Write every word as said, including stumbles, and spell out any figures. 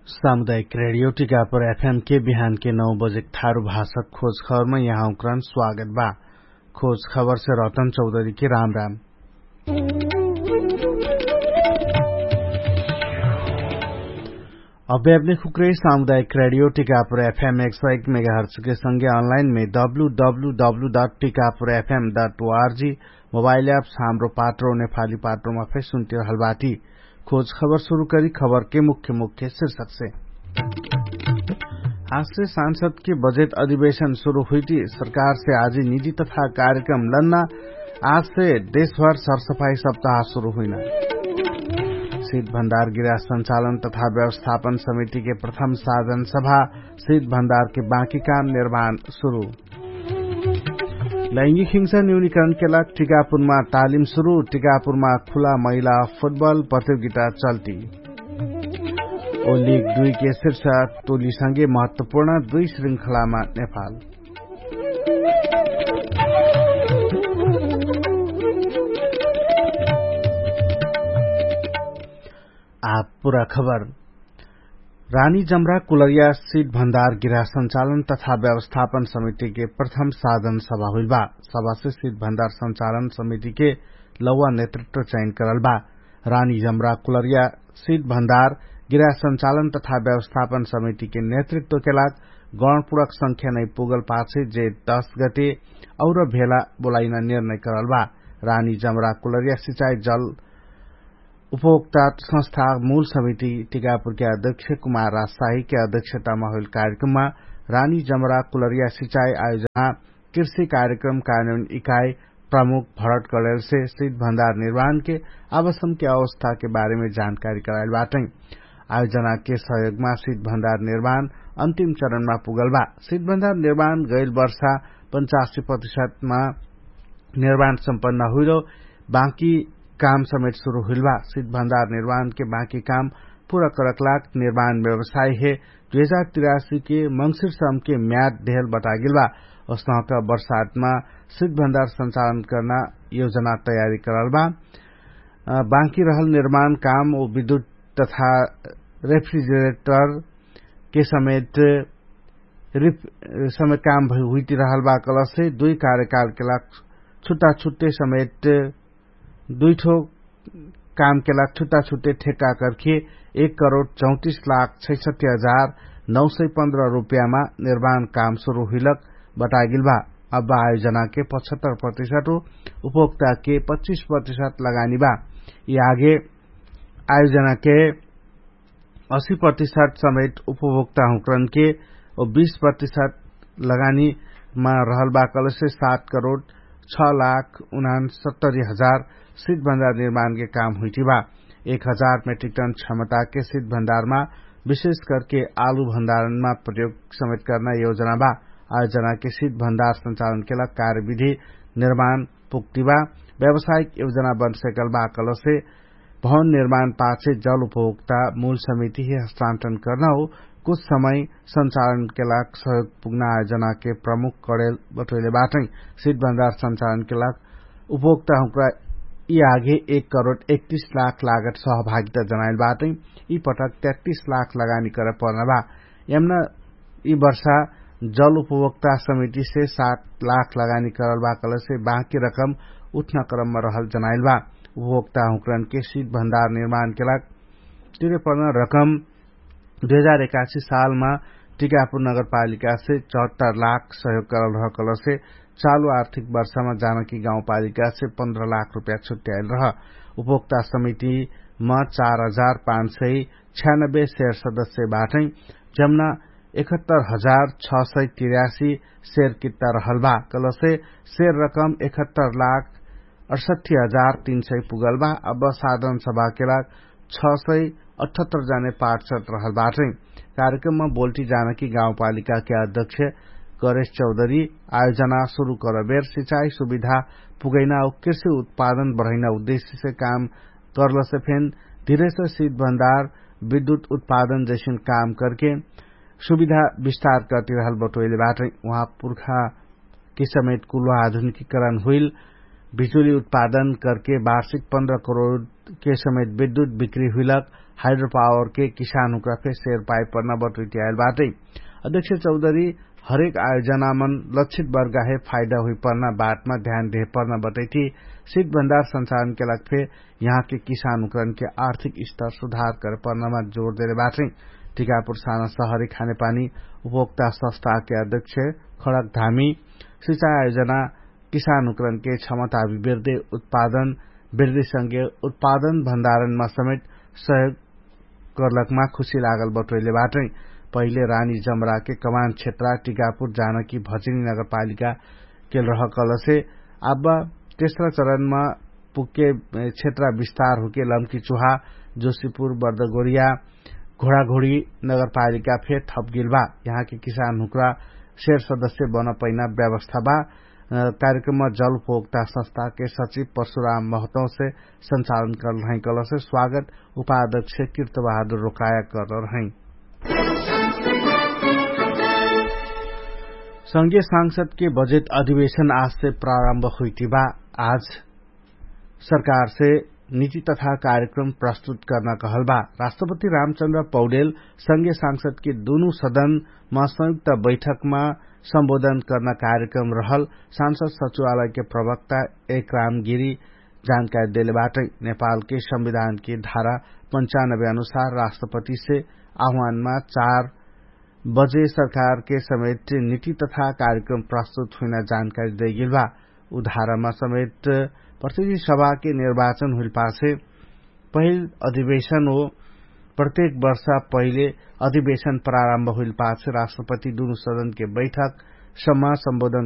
सामुदायिक रेडियो टिकापुर एफएम के बिहान के नौ बजेक थारु भाषक खोज खबरमा यहाँ उक्रान स्वागत बा। खोज खबर से रतन चौधरी के राम राम। अभ्यापने खुक्रे सामुदायिक रेडियो टिकापुर एफएम एक सौ एक मेगाहर्च के संगे अनलाइन में W W W dot Tikapur FM dot ORG mobile apps Hamro Patro नेपाली पात्रोमा फेर सुन्ति रहल बाटी। खोज खबर सुरु करी खबर के मुख्य मुख्य शीर्षक से। आज से सांसद के बजेट अधिवेशन सुरु हुइटी। सरकार से आजि निजी तथा कार्यक्रम लन्ना। आज से देशभर सरसफाई सप्ताह सुरु हुइना। सित भण्डार गिरा संचालन तथा व्यवस्थापन समिति के प्रथम साधन सभा। सित भण्डार के बाँकी काम निर्माण सुरु। लैङ्गिक हिंसा न्यूनीकरण के लाग टिकापुरमा तालिम सुरु। टिकापुरमा खुला महिला फुटबल प्रतियोगिता चल्ती। ओ लिग दुई के शीर्ष टोलीसँगे महत्वपूर्ण दुई श्रृङ्खलामा नेपाल। आ पुरा खबर। रानी जमरा कुलरिया सिट भण्डार गिरा संचालन तथा व्यवस्थापन समिति के प्रथम साधन सभा हुइल बा। सभा से सिट भण्डार संचालन समिति के लौवा नेतृत्व चयन करल बा। रानी जमरा कुलरिया सिट भण्डार गिरा संचालन तथा व्यवस्थापन समिति के नेतृत्व के लाग गणपुरक संख्या नै पुगल पाछे जे दस गते और भेला बोलाइन निर्णय करल बा। रानी जमरा कुलरिया सिचाई जल उपभोक्ता संस्था मूल समिति टिकापुर के अध्यक्ष कुमार राजशाही के अध्यक्षता मा होइल कार्यक्रम मा रानी जमरा कुलरिया सिचाई आयोजना कृषि कार्यक्रम कार्यान्वयन इकाई प्रमुख भरत कलेल से सिट भण्डार निर्माण के आवासन के अवस्था के बारे में जानकारी कराइल बाटै। आयोजना के सहयोग मा सिट भण्डार निर्माण अन्तिम चरण मा पुगल बा। सिट भण्डार निर्माण गैल वर्षा पचासी प्रतिशत मा निर्माण सम्पन्न हुइलो। बाँकी काम समेत सुरु हुइल बा। सिट भण्डार निर्माण के बाँकी काम पुरा करक लाग निर्माण व्यवसाय हे दुई हजार तिरासी के मंसिर सम के म्याद धेल बटागेल बा। उसनहका बर्सातमा सिट भण्डार संचालन कर्ना योजना तयारी करल बा। बाँकी रहल निर्माण काम ओ विद्युत तथा रेफ्रिजरेटर के समेत रिफ समेत काम हुइति रहल बा कलसे दुई कार्यकाल के लाग छुट्टा छुट्टे समेत दुइठो काम के लाग छुट्टा छुट्टे ठेक्का करके एक करोड चौतिस लाख छैसठी हजार नौ सय पन्ध्र रुपियाँमा निर्माण काम सुरु हुइलक बटागेल बा। अब आयोजना के पचहत्तर प्रतिशत उपभोक्ता के पच्चिस प्रतिशत लगानी बा। यि आगे आयोजना के असी प्रतिशत समेत उपभोक्ता हुँकरन के ओ बीस प्रतिशत लगानी मा रहल बा कलसे सात करोड छ लाख उनान सत्तरी हजार सिट भण्डार निर्माण के काम हुइटी बा। एक हजार मेट्रिक टन क्षमता के सिट भण्डार मा विशेष करके आलु भण्डारण मा प्रयोग समेत कर्ना योजना बा। आयोजना के सिट भण्डार संचालन के लाग कार्यविधि निर्माण पुग्ति बा। व्यावसायिक योजना बन सकल बा कलसे भवन निर्माण पाछे जल उपभोक्ता मूल समिति हे हस्तान्तरण कर्ना हो कुछ समय संचालन के लाग सहयोग पुग्ना आयोजना के प्रमुख कडेल बटोइले बाटै। सिट भण्डार संचालन के लाग उपभोक्ता हुँक्रा यि आगे एक करोड एकतिस लाख लागत सहभागिता जनाइल बाटै। यि पटक तेत्तिस लाख लगानी करे पर्ना बा। यमना यि वर्षा जल उपभोक्ता समिति से सात लाख लगानी करल बा कलसे बाँकी रकम उठ्ना क्रममा रहल जनाइल बा। उपभोक्ता हुँकरन के सिट भण्डार निर्माण के लाग तिरे पर्ना रकम दुई हजार एकासी सालमा टिकापुर नगरपालिका से चौहत्तर लाख सहयोग करल रह कलसे चालु आर्थिक वर्षमा जानकी गाउँपालिका से पन्ध्र लाख रुपियाँ छुट्याइल रह। उपभोक्ता समिति मा चार हजार पाँच सय छ्यानब्बे शेर सदस्य बाटै जम्ना एकहत्तर हजार छ सय तिरासी शेर कित्ता रहल बा कलसे शेर रकम एकहत्तर लाख अठसट्ठी हजार तीन सय पुगल बा। अब साधन सभा के लाग छ सय अठहत्तर जाने पार्षद रहल बाटै। कार्यक्रममा बोल्टी जानकी गाउँपालिका के अध्यक्ष गरेश चौधरी आयोजना सुरु करबेर सिचाई सुविधा पुगैना कृषि उत्पादन बढैना उद्देश्य से काम करलसे फेन धिरेसे सित भण्डार विद्युत उत्पादन जैसन काम करके सुविधा विस्तार करती रहल बटोइले बाटै। उहाँ पुर्खा के समेत कुलो आधुनिकीकरण हुइल बिजुली उत्पादन करके वार्षिक पन्ध्र करोड के समेत विद्युत बिक्री हुइलक हाइड्रोपावरके किसानहुँक्रा फे सेर पाइपर्ना बटुइति आइल बाटै। अध्यक्ष चौधरी हरेक आयोजनामन लक्षित वर्गाहे फाइदा हुइपर्ना बाटमा ध्यान देहपर्ना बटैति सिट भण्डार संचालनके लाग फे यहाँके किसानहुँक्रनके आर्थिक स्तर सुधार करपर्नामा जोर देले बाटै। टिकापुर साना सहरी खानेपानी उपभोक्ता सस्ताके अध्यक्ष खडक धामी सिचाइ आयोजना किसानहुँक्रनके क्षमता अभिवृद्धि उत्पादन वृद्धिसँगे उत्पादन भण्डारणमा समेत सहयोग गर्लकमा खुशी लागल बटोइले बाटै। पहिले रानी जमराके कमान क्षेत्रा टिकापुर जानकी भचिनी नगरपालिका केल रहकलसे आब तेस्रा चरणमा पुग्के क्षेत्रा विस्तार हुके लम्की चुहा जोशीपुर बर्दगोरिया घोडाघोडी नगरपालिका फे थपगेल बा। यहाँके किसानहुँक्रा सेर सदस्य बनपैना व्यवस्था बा। कार्यक्रममा जलपोक्ता संस्थाके सचिव परशुराम महतौसे संचालन करल रहैकलसे स्वागत उपाध्यक्ष किर्तबहादुर रोकाया करल रहै। संघीय सांसदके बजेट अधिवेशन आजसे प्रारम्भ हुइति बा। आज सरकारसे निति तथा कार्यक्रम प्रस्तुत कर्ना कहल बा। राष्ट्रपति रामचन्द्र पौडेल संघीय सांसदके दुनु सदनमा संयुक्त बैठकमा सम्बोधन कर्ना कार्यक्रम रहल सांसद सचिवालयके प्रवक्ता एक रामगिरी जानकारी देले बाटै। नेपालके संविधानके धारा पन्चानबे अनुसार राष्ट्रपतिसे आह्वानमा चार बजे सरकारके समेत निति तथा कार्यक्रम प्रस्तुत हुइना जानकारी दैगेल बा। उधारामा समेत प्रतिनिधि सभाके निर्वाचन हुइल पाछे पहिल अधिवेशन हो। प्रत्येक वर्षा पहिले अधिवेशन प्रारम्भ हुइल पाछे राष्ट्रपति दुनु सदनके बैठक सम्मा सम्बोधन